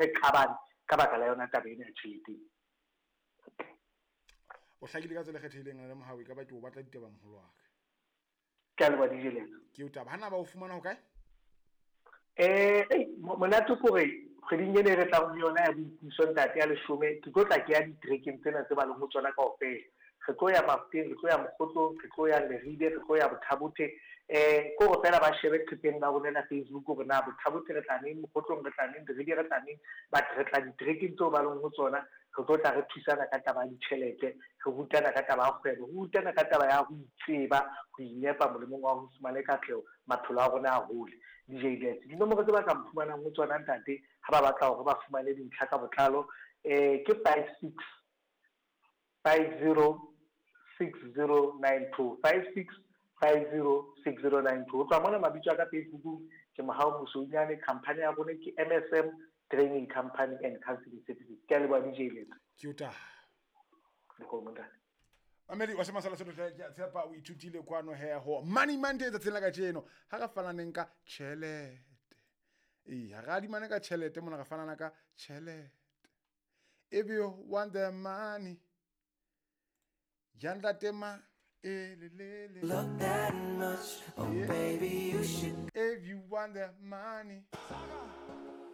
Re qabane ka baka la yona taba ena ya tjhelete. O hlakile ka tsela e kgethehileng le Mohau, e ka ba ke o batla ditaba moholo wa ka. Ke a leboha DJ Letso. Ke o taba. Hana ba o fumana ho kae? Eh, monate ke hore kgweding ena e re tlang ho yona ya boipuso ntate ya leshome, ke tlo tla ke ya ditrekeng tsena tse ba leng ho tsona kaofela. Re tlo ya Mafuteng, re tlo ya Mokgotlong, re tlo ya Leribe, re tlo ya Bothabothe. Eh, ke hore feela ba shebe leqepheng la rona la Facebook hore na Bothabothe re tla neng, Mokgotlong re tla neng, Leribe re tla neng, but re tla ditrekeng tseo ba leng ho tsona. Re tlo tla re thusana ka taba ya ditjhelete, re rutana ka taba ya kgwebo, re rutana ka taba ya ho itseba, ho inepa molemong wa ho fumane katleho, maphelo a rona a hole. DJ Lets. Dinomoro tse ba ka mphumanang ho tsona ntate ha ba batla hore ba fumane dintlha ka botlalo ke 56 50 6092 56 50 6092. Ho tloha mona mabitso a ka Facebookung ke Mohau Mosounyane, company ya rona ke MSM Training Company and Counseling Services. Ke a leboha DJ Letsa. Ke o taha. Dikgomo ntate. Mamedi wa Semasala Sotho hle, ke a tshepa o ithutile kwano he ho Money Monday tsatsing la kajeno. Ha re fananeng ka tjhelete. Ee, ha re adimane ka tjhelete mona, re fanana ka tjhelete. If you want the money, ya ntate ma e le le le. Look that much, oh Yeah. baby, you should. If you want the money.